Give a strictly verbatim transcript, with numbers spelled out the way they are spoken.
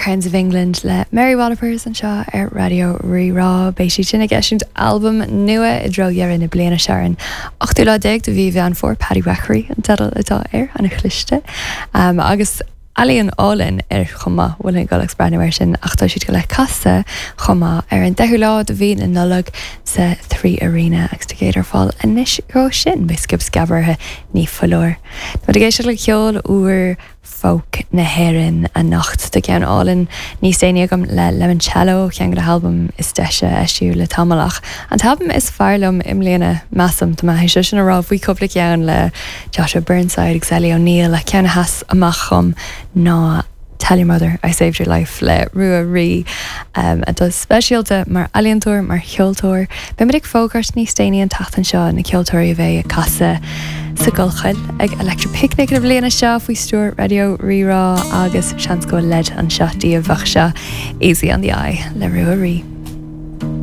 Crowns of England le Mary Wallopers anseo ar Raidió Rí-Rá beidh sí sin ag eisiúint albam nua i dtreo dheireadh na bliana seo an ochtú lá déag de mhí Mheán Fómhair Paddywachery an teideal atá air an-chliste um, agus ealaíon álainn ar chomh maith bhfuil an go breathnú air sin ach tá siad go le casadh chomh maith ar an deichiú lá de mhí na Nollag sa Three Arena agus ticéid ar fáil anois go sin be skip scabarthe ní foláir. Tá ag éisteacht le ceol úr folk na hÉireann anocht tá ceann álainn níos déanaí agam le Lemoncello ceann de na halbaim is deise a eisíodh le tamall ach an t-albam is fearr liom i mbliana measaim tá mé sé sin a rá faoi cúpla ceann le Joshua Burnside agus Ellie O'Neill a ceann a sheas amach dom ná Tell Your Mother I Saved Your Life le Rua Rí um, atá speisialta mar ealaíontóir mar cheoltóir. Beimid ag fógairt níos déanaí an tseachtain seo na ceoltóirí a bheidh ag casadh sa Ghallchoill ag Electric Picnic na bliana seo faoi stiúir Raidió Rí-Rá agus seans go leid anseo díobh seo Easy on the Eye le Rua Rí.